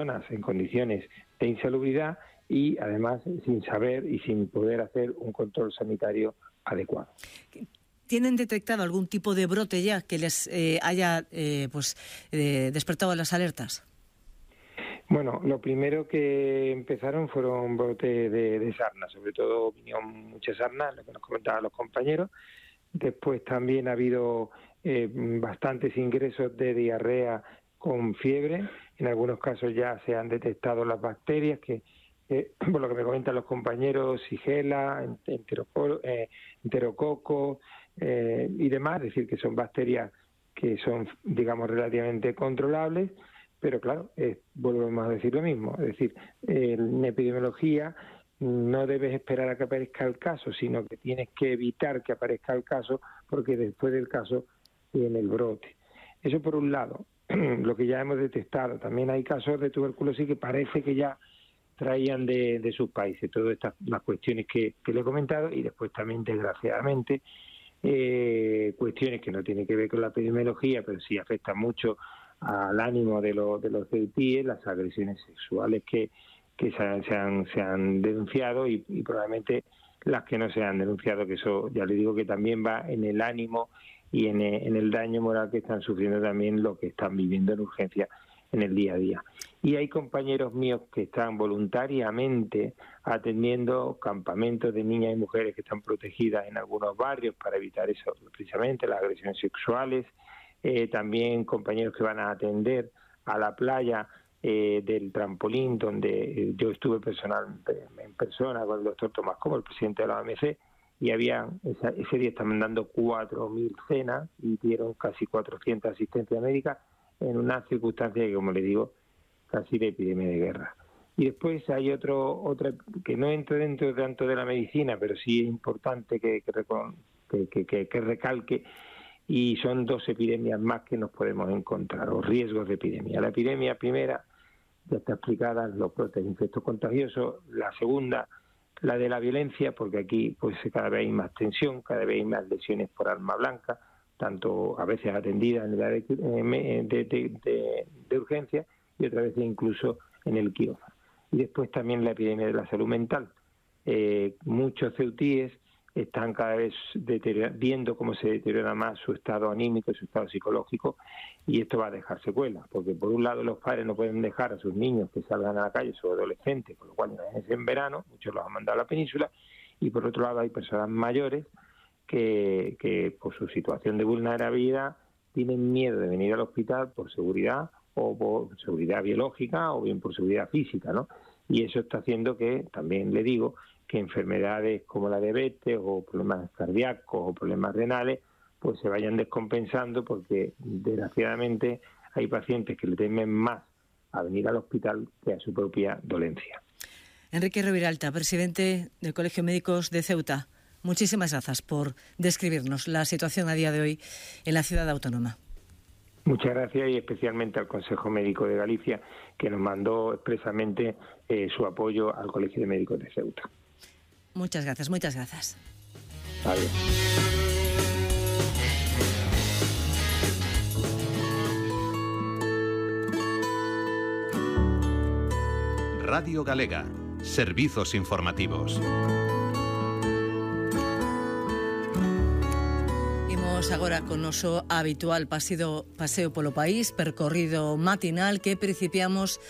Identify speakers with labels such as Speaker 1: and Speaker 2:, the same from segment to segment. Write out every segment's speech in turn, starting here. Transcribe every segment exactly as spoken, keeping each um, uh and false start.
Speaker 1: en condiciones de insalubridad y además sin saber y sin poder hacer un control sanitario adecuado.
Speaker 2: ¿Tienen detectado algún tipo de brote ya que les eh, haya eh, pues eh, despertado las alertas?
Speaker 1: Bueno, lo primero que empezaron fueron brotes de, de sarna, sobre todo vinieron muchas sarnas, lo que nos comentaban los compañeros. Después también ha habido eh, bastantes ingresos de diarrea con fiebre. En algunos casos ya se han detectado las bacterias que, eh, por lo que me comentan los compañeros, Shigella, enteroco, eh, enterococo eh, y demás, es decir, que son bacterias que son, digamos, relativamente controlables, pero claro, eh, volvemos a decir lo mismo, es decir, eh, en epidemiología no debes esperar a que aparezca el caso, sino que tienes que evitar que aparezca el caso, porque después del caso viene el brote. Eso por un lado, lo que ya hemos detectado. También hay casos de tuberculosis que parece que ya traían de, de sus países, todas estas las cuestiones que, que le he comentado, y después también, desgraciadamente, eh, cuestiones que no tienen que ver con la epidemiología, pero sí afectan mucho al ánimo de, lo, de los C E U T I E, las agresiones sexuales que que se han, se han, se han denunciado y, y probablemente las que no se han denunciado, que eso ya le digo que también va en el ánimo y en el, en el daño moral que están sufriendo también lo que están viviendo en urgencia en el día a día. Y hay compañeros míos que están voluntariamente atendiendo campamentos de niñas y mujeres que están protegidas en algunos barrios para evitar eso, precisamente las agresiones sexuales. Eh, también compañeros que van a atender a la playa Eh, del trampolín, donde eh, yo estuve personal en persona con el doctor Tomás Como, el presidente de la O M C, y había esa, ese día estaban dando cuatro mil cenas y dieron casi cuatrocientas asistencias médicas en una circunstancia que, como le digo, casi de epidemia de guerra. Y después hay otro otra que no entra dentro tanto de la medicina, pero sí es importante que, que, que, que, que recalque, y son dos epidemias más que nos podemos encontrar, o riesgos de epidemia. La epidemia primera ya está explicada, los brotes de infectos contagiosos. La segunda, la de la violencia, porque aquí pues cada vez hay más tensión, cada vez hay más lesiones por arma blanca, tanto a veces atendidas en el área de, de, de, de urgencia y otras veces incluso en el quirófano. Y después también la epidemia de la salud mental. Eh, muchos C E U T I Es están cada vez viendo cómo se deteriora más su estado anímico y su estado psicológico, y esto va a dejar secuelas, porque por un lado los padres no pueden dejar a sus niños que salgan a la calle, sus adolescentes, con lo cual es en verano, muchos los han mandado a la península, y por otro lado hay personas mayores que, que por su situación de vulnerabilidad tienen miedo de venir al hospital por seguridad, o por seguridad biológica, o bien por seguridad física, ¿no? Y eso está haciendo que, también le digo, que enfermedades como la diabetes o problemas cardíacos o problemas renales pues se vayan descompensando, porque desgraciadamente hay pacientes que le temen más a venir al hospital que a su propia dolencia.
Speaker 2: Enrique Riberalta, presidente del Colegio de Médicos de Ceuta, muchísimas gracias por describirnos la situación a día de hoy en la ciudad autónoma.
Speaker 1: Muchas gracias, y especialmente al Consejo Médico de Galicia, que nos mandó expresamente eh, su apoyo al Colegio de Médicos de Ceuta.
Speaker 2: Muchas gracias, muchas gracias.
Speaker 1: Adiós.
Speaker 3: Radio Galega, servizos informativos.
Speaker 2: Imos agora con noso habitual paseo, paseo polo país, percorrido matinal que principiamos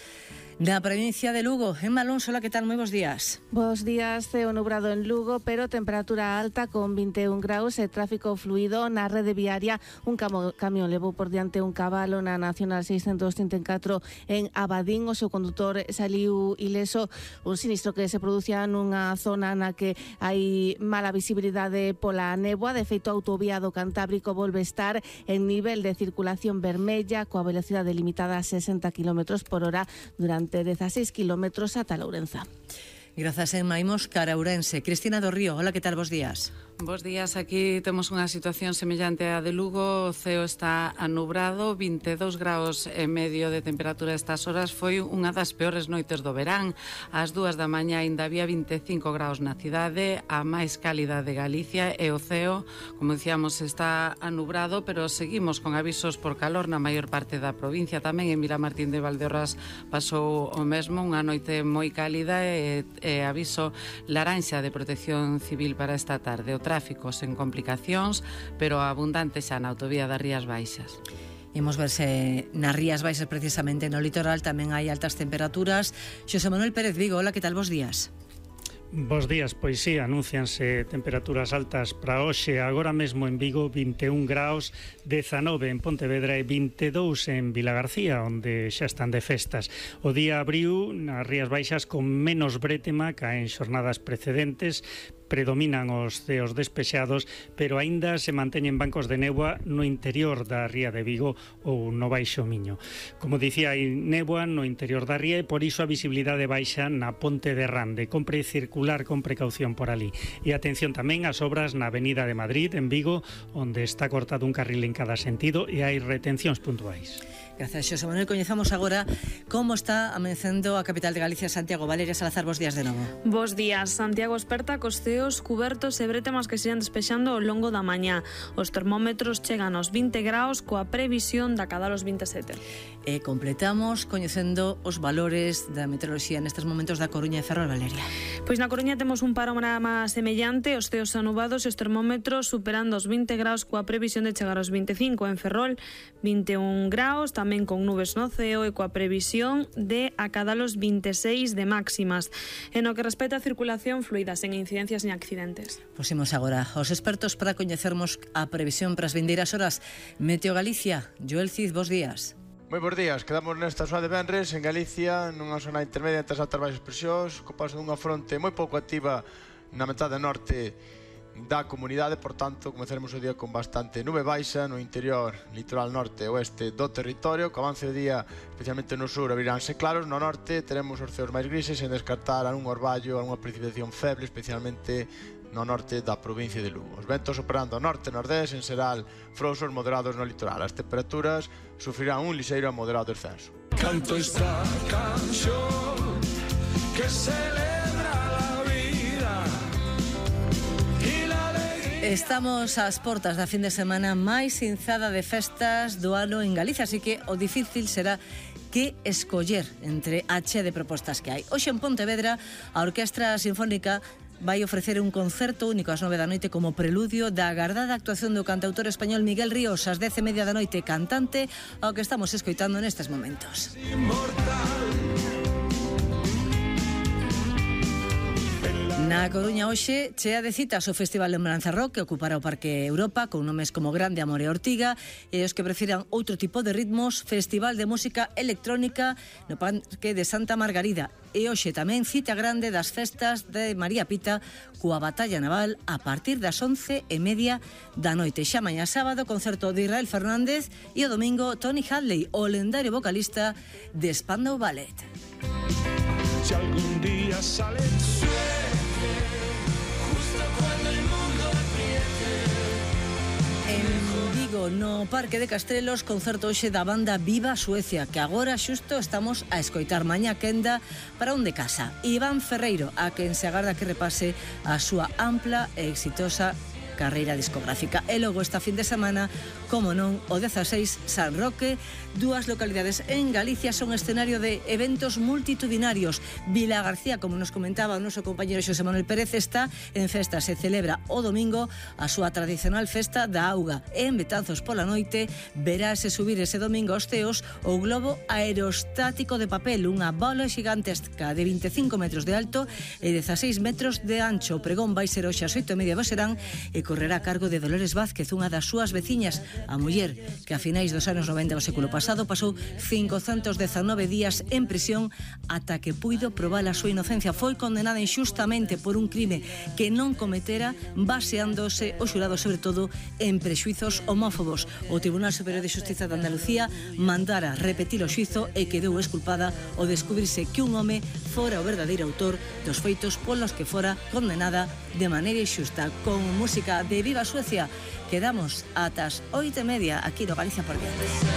Speaker 2: na provincia de Lugo. Emma Alonso, hola, que tal? Moi bons días.
Speaker 4: Bos días, ceo nubrado en Lugo, pero temperatura alta con vinte e un graus e tráfico fluido na rede viaria. Un camo, camión levou por diante un cabalo na Nacional seiscentos trinta e catro en Abadín. O seu condutor saliu ileso. Un sinistro que se producía nunha zona na que hai mala visibilidade pola néboa. De feito, a autovía do Cantábrico volve estar en nivel de circulación vermella, coa velocidade limitada a sesenta kilómetros por hora durante dieciséis kilómetros ata Lourenza.
Speaker 2: Grazas, Emma. Imos cara a Ourense. Cristina do Río, hola, que tal? Bos días.
Speaker 5: Bos días, aquí temos unha situación semellante á de Lugo. O ceo está anubrado, vinte e dous graus e medio de temperatura estas horas. Foi unha das peores noites do verán. Ás dúas da mañá ainda había vinte e cinco graus na cidade, a máis cálida de Galicia, e o ceo, como dicíamos, está anubrado, pero seguimos con avisos por calor na maior parte da provincia. Tamén en Vilamartín de Valdeorras pasou o mesmo, unha noite moi cálida e, e aviso laranxa de protección civil para esta tarde. O tráfico sen complicacións, pero abundante xa na autovía das Rías Baixas.
Speaker 2: Imos ver se nas Rías Baixas, precisamente no litoral, tamén hai altas temperaturas. Xosé Manuel Pérez Vigo, hola, que tal, bos días?
Speaker 6: Bos días, pois sí, anúncianse temperaturas altas para hoxe. Agora mesmo en Vigo vinte e un graus, dezanove en Pontevedra e vinte e dous en Vilagarcía, onde xa están de festas. O día abriu nas Rías Baixas con menos brétema que en xornadas precedentes. Predominan os ceos despexados, pero aínda se manteñen bancos de néboa no interior da ría de Vigo ou no Baixo Miño. Como dicía, hai néboa no interior da ría e por iso a visibilidade baixa na Ponte de Rande. Compre circular con precaución por ali. E atención tamén ás obras na Avenida de Madrid, en Vigo, onde está cortado un carril en cada sentido e hai retencións puntuais.
Speaker 2: Gracias, Xosé Manuel. Coñezamos agora como está amanecendo a capital de Galicia, Santiago. Valeria Salazar, bos días de novo.
Speaker 7: Bos días. Santiago esperta cos ceos cubertos e bretemas que se irán despexando ao longo da mañá. Os termómetros chegan aos vinte graus coa previsión de acadar os vinte e sete.
Speaker 2: E completamos coñecendo os valores da meteoroloxía nestes momentos da Coruña e Ferrol, Valeria.
Speaker 7: Pois na Coruña temos un panorama semellante, os ceos anubados e os termómetros superando os vinte graus coa previsión de chegar aos vinte e cinco. En Ferrol, vinte e un graus, tamén con nubes no ceo e coa previsión de acadar os vinte e seis de máximas. En o que respecta a circulación fluida, sen incidencias ni accidentes.
Speaker 2: Posimos agora aos expertos para coñecermos a previsión para as vindeiras horas. Meteo Galicia, Joel Cid, bos días.
Speaker 8: Moi bons días, quedamos nesta zona de venres en Galicia, nunha zona intermedia entre as altas baixas presións, co paso dunha fronte moi pouco activa na metade norte da comunidade, por tanto, comezaremos o día con bastante nube baixa no interior, litoral norte e oeste do territorio. Co avance do día, especialmente no sur, abriránse claros. No norte teremos os ceos máis grises, sen descartar algún orballo, algunha precipitación feble, especialmente no norte da provincia de Lugo. Os ventos operando norte e nordés, en xeral frouxos moderados no litoral. As temperaturas sufrirán un lixeiro a moderado descenso.
Speaker 9: Canto esta canción que celebra la vida y la alegría.
Speaker 2: Estamos ás portas da fin de semana máis inzada de festas do ano en Galicia, así que o difícil será que escoller entre a chea de propostas que hai. Hoxe en Pontevedra, a Orquestra Sinfónica vai ofrecer un concerto único ás nove da noite como preludio da agardada actuación do cantautor español Miguel Ríos ás dez e media da noite, cantante ao que estamos escoitando nestes momentos. Na Coruña hoxe chea de citas o Festival Lembranza Rock, que ocupará o Parque Europa con nomes como Grande Amor e Ortiga, e os que prefiran outro tipo de ritmos, Festival de Música Electrónica no Parque de Santa Margarida. E hoxe tamén cita grande das festas de María Pita coa Batalla Naval a partir das once e media da noite. Xa mañá sábado, concerto de Israel Fernández e o domingo Tony Hadley, o lendario vocalista de Spandau Ballet.
Speaker 9: Si algún día sale
Speaker 2: no Parque de Castrelos, concerto hoxe da banda Viva Suecia, que agora xusto estamos a escoitar. Mañá quenda para un de casa. Iván Ferreiro, a quen se agarda que repase a súa ampla e exitosa carreira discográfica. E logo esta fin de semana, como non, o dezaseis, San Roque, dúas localidades en Galicia son escenario de eventos multitudinarios. Vilagarcía, como nos comentaba o noso compañero Xosé Manuel Pérez, está en festa. Se celebra o domingo a súa tradicional festa da auga. E en Betanzos pola noite verase subir ese domingo aos ceos o globo aerostático de papel, unha bola xigantesca de vinte e cinco metros de alto e dezaseis metros de ancho. O pregón vai ser hoxe ás oito e media do serán e correrá a cargo de Dolores Vázquez, unha das súas veciñas, a muller que a finais dos anos noventa do século pasado pasou cincocentos dezanove días en prisión ata que puido probar a súa inocencia. Foi condenada injustamente por un crime que non cometera, baseándose o xurado sobre todo en prexuizos homófobos. O Tribunal Superior de Xustiza de Andalucía mandara repetir o xuizo e quedou esculpada ao descubrirse que un home fora o verdadeiro autor dos feitos polos que fora condenada de maneira injusta. Con música de Viva Suecia. Quedamos atas oito e media aquí no Galicia por Diante.